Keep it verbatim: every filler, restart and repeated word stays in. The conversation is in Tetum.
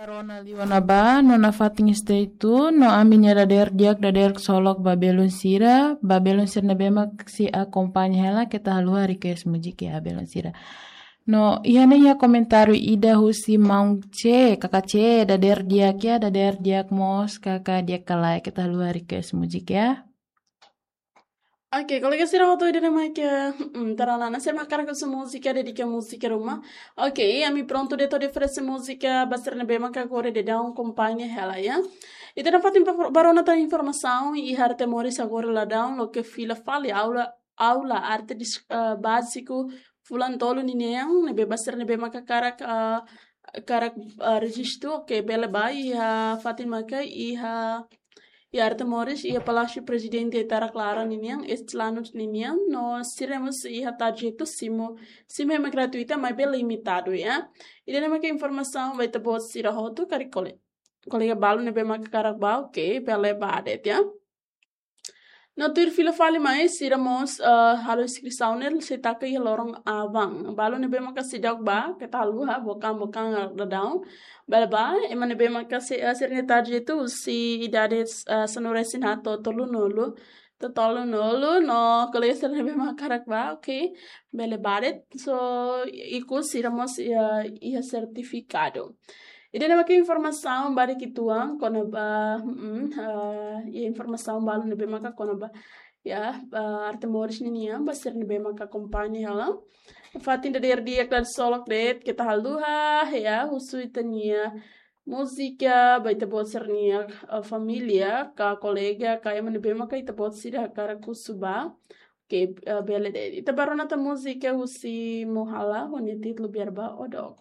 Rona liu ona ba, no nafatin stay tune, no ami-nia dadeer di'ak, dadeer solok ba belun sira, ba belun sira ne'ebé mak sei akompaña hela, keta haluha request múzika ya, belun sira. No, iha ne'e iha komentáriu ida husi Maun C, kaka C, dadeer di'ak ya, dadeer di'ak mós, kaka di'ak ka lae, keta haluha request múzika ya. Oke, kolega sira hotu ida-ne'e mak, mm, tarana, sira mak hakarak husu múzika, dedika múzika ruma. Oke, ami prontu de'it hodi oferese múzika ba sira ne'ebé mak agora daudaun akompaña hela ya. Ita nafatin ba, ba rona tan informasaun iha Arte Moris agora daudaun loke fila fali aula, aula arte dis-, eh, báziku fulan tolu ninian, ne'ebé ba sira ne'ebé mak hakarak, eh, hakarak, eh, rejistu, oke, bele ba iha fatin mak iha, iha Arte Moris, iha Palásiu Prezidente Ita-Rak Laran ninian, Estilano ninian, no sira mós iha tarjetu simu, simu ema gratuita, maibé limitadu ya. Ida-ne'e mak informasaun ba ita-boot sira hotu, karik kole-, kolega balu ne'ebé mak hakarak ba, oke, bele ba de'it ya. No tuir fila fali mai, sira mós, eh, halo inskrisaun ne'e sei taka iha loron aban. Balu ne'ebé maka seidauk ba, keta haluha, buka-buka daudaun. Bele ba, ema ne'ebé maka se, eh, sira-nia tarjetu husi idade, eh, sanulu-resin-haat to'o tolunulu. To'o tolunulu, no kolega sira ne'ebé maka hakarak ba, oke. Bele ba de'it, so, ikus sira mós, eh, iha sertifikadu. Ida-ne'e mak informasaun ba de'it uitoan, kona-ba, mm, eh, iha informasaun balu ne'ebé maka kona-ba, ya, eh, Arte Moris ninian, ba sira ne'ebé maka akompaña hela. Fatin dadeer di'ak, dadeer solok de'it, keta haluha, ya, husu ita-nia múzika, ba ita-boot sira-nia, eh, família, ka kolega, ka ema ne'ebé maka ita-boot sira hakarak husu ba. Oke, eh, bele de'it. Ita ba rona tan múzika husi Mohala, ho nia títulu Biar Ba Odok.